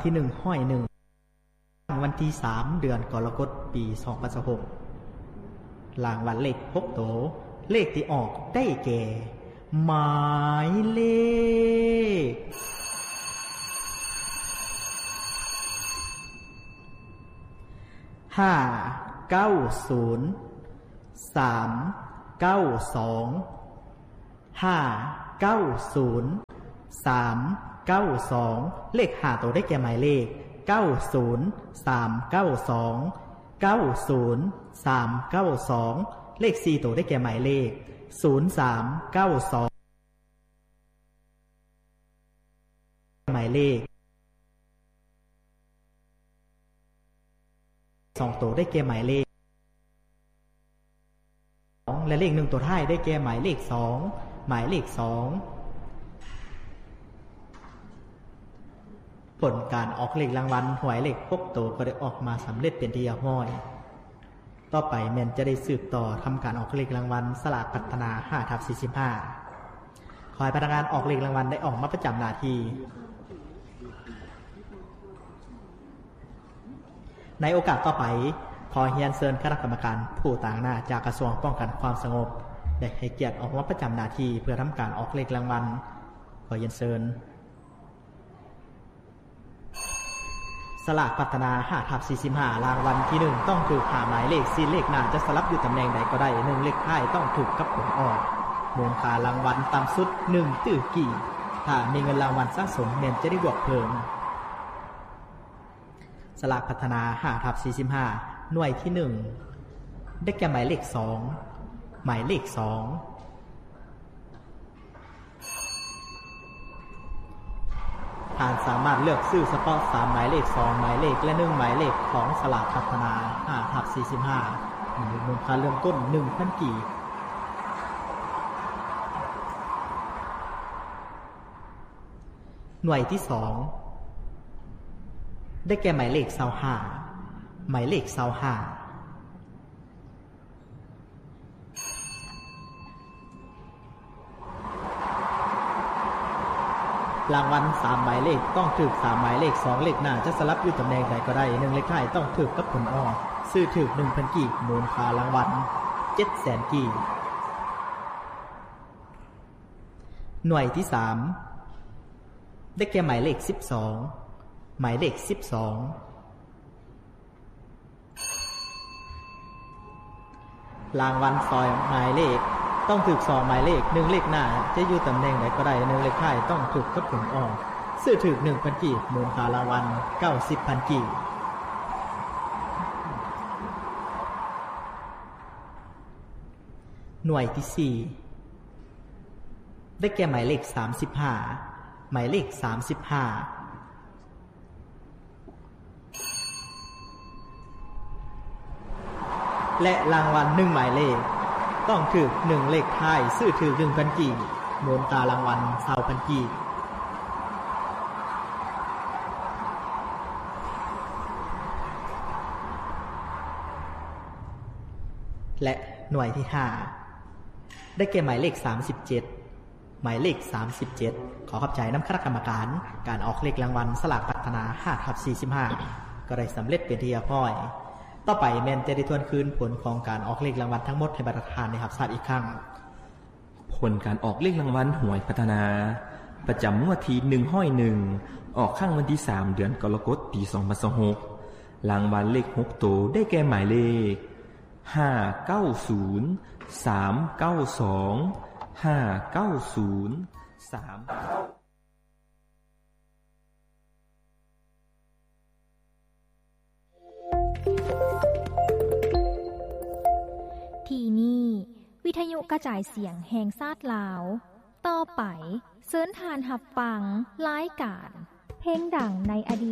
ທີໜຶ່ງຮ້ອຍໜຶ່ງ ວັນທີສາມ ເດືອນກໍລະກົດ ປີສອງພັນຊາວຫົກ ລາງວັນເລກຫົກໂຕ ເລກທີ່ອອກໄດ້ແກ່ ໝາຍເລກ ຫ້າເກົ້າສູນ ສາມເກົ້າສອງ ຫ້າເກົ້າສູນ ສາມເກົ້າສອງ ເລກຫ້າໂຕໄດ້ແກ່ໝາຍເລກ ເກົ້າສູນ ສາມເກົ້າສອງ ເກົ້າສູນ ສາມເກົ້າສອງ ເລກສີ່ໂຕໄດ້ແກ່ໝາຍເລກ ສູນສາມເກົ້າສອງ ໝາຍເລກ ສອງໂຕໄດ້ແກ່ໝາຍເລກ ສອງ ແລະ ເລກໜຶ່ງໂຕທ້າຍໄດ້ແກ່ໝາຍເລກສອງ ໝາຍເລກສອງ ຜົນການອອກເລກລາງວັນຫວຍເລກຫົກໂຕກໍໄດ້ອອກມາສຳເລັດເປັນທີ່ຮຽບຮ້ອຍ. ຕໍ່ໄປແມ່ນຈະໄດ້ສືບຕໍ່ທຳການອອກເລກລາງວັນສະຫຼາກພັດທະນາ ຫ້າທັບສີ່ສິບຫ້າ ຂໍໃຫ້ພະນັກງານອອກເລກລາງວັນໄດ້ອອກມາປະຈຳໜ້າທີ່. ໃນໂອກາດຕໍ່ໄປ, ຂໍຮຽນເຊີນຄະນະກຳມະການຜູ້ຕາງໜ້າຈາກກະຊວງປ້ອງກັນຄວາມສະຫງົບ ໄດ້ໃຫ້ກຽດອອກມາປະຈຳໜ້າທີ່ເພື່ອທຳການອອກເລກລາງວັນ. ຂໍຮຽນເຊີນ. ສະຫຼາກພັດທະນາ ຫ້າທັບສີ່ສິບຫ້າ ລາງວັນທີໜຶ່ງ ຕ້ອງຖືກຫ້າໝາຍເລກ, ສີ່ເລກໜ້າຈະສະຫຼັບຢູ່ຕຳແໜ່ງໃດກໍໄດ້, ໜຶ່ງເລກທ້າຍຕ້ອງຖືກກັບຜົນອອກ. ມູນຄ່າລາງວັນຕ່ຳສຸດ ໜຶ່ງຕື້ກີບ. ຖ້າມີເງິນລາງວັນສະສົມ ແມ່ນຈະໄດ້ບວກເພີ່ມ. ສະຫຼາກພັດທະນາ ຫ້າທັບສີ່ສິບຫ້າ ໜ່ວຍທີໜຶ່ງ ໄດ້ແກ່ໝາຍເລກສອງ ໝາຍເລກສອງ. ທ່ານສາມາດເລືອກຊື້ສະເພາະສາມໝາຍເລກ, ສອງໝາຍເລກ ແລະ ໜຶ່ງໝາຍເລກຂອງສະຫຼາກພັດທະນາ ຫ້າທັບສີ່ສິບຫ້າ ມີມູນຄ່າເລີ່ມຕົ້ນ ໜຶ່ງພັນກີບ. ໜ່ວຍທີສອງ ໄດ້ແກ່ໝາຍເລກຊາວຫ້າ ໝາຍເລກຊາວຫ້າ. ລາງວັນສາມໝາຍເລກ ຕ້ອງຖືກສາມໝາຍເລກ, ສອງເລກໜ້າຈະສະຫຼັບຢູ່ຕຳແໜ່ງໃດກໍໄດ້, ໜຶ່ງເລກທ້າຍຕ້ອງຖືກກັບຜົນອອກ. ຊື້ຖືກ ໜຶ່ງພັນກີບ, ມູນຄ່າລາງວັນ ເຈັດແສນກີບ. ໜ່ວຍທີສາມ ໄດ້ແກ່ໝາຍເລກສິບສອງ ໝາຍເລກສິບສອງ. ລາງວັນສອງໝາຍເລກ ຕ້ອງຖືກສອງໝາຍເລກ, ໜຶ່ງເລກໜ້າຈະຢູ່ຕຳແໜ່ງໃດກໍໄດ້, ໜຶ່ງເລກທ້າຍຕ້ອງຖືກກັບຜົນອອກ. ຊື້ຖືກ ໜຶ່ງພັນກີບ, ມູນຄ່າລາງວັນ ເກົ້າສິບພັນກີບ. ໜ່ວຍທີສີ່ ໄດ້ແກ່ໝາຍເລກສາມສິບຫ້າ ໝາຍເລກສາມສິບຫ້າ ແລະ ລາງວັນໜຶ່ງໝາຍເລກ ຕ້ອງຖືກໜຶ່ງເລກທ້າຍ, ຊື້ຖືກ ໜຶ່ງພັນກີບ, ມູນຄ່າລາງວັນ ຊາວພັນກີບ. ແລະ ໜ່ວຍທີຫ້າ ໄດ້ແກ່ໝາຍເລກສາມສິບເຈັດ ໝາຍເລກສາມສິບເຈັດ. ຂໍຂອບໃຈນຳຄະນະກຳມະການການອອກເລກລາງວັນສະຫຼາກພັດທະນາ ຫ້າທັບສີ່ສິບຫ້າ ກໍໄດ້ສຳເລັດເປັນທີ່ຮຽບຮ້ອຍ. ຕໍ່ໄປແມ່ນຈະໄດ້ທວນຄືນຜົນຂອງການອອກເລກລາງວັນທັງໝົດໃຫ້ບັນດາທ່ານໄດ້ຮັບຊາບອີກຄັ້ງ. ຜົນການອອກເລກລາງວັນຫວຍພັດທະນາ ປະຈຳງວດທີໜຶ່ງຮ້ອຍໜຶ່ງ ອອກຄັ້ງວັນທີສາມ ເດືອນກໍລະກົດ ປີສອງພັນຊາວຫົກ. ລາງວັນເລກຫົກໂຕໄດ້ແກ່ໝາຍເລກ ຫ້າເກົ້າສູນ ສາມເກົ້າສອງ ຫ້າເກົ້າສູນ ສາມ. ທີ່ນີ້ ວິທະຍຸກະຈາຍສຽງແຫ່ງຊາດລາວ. ຕໍ່ໄປ ເຊີນທ່ານຮັບຟັງລາຍການເພງດັງໃນອະດີດ.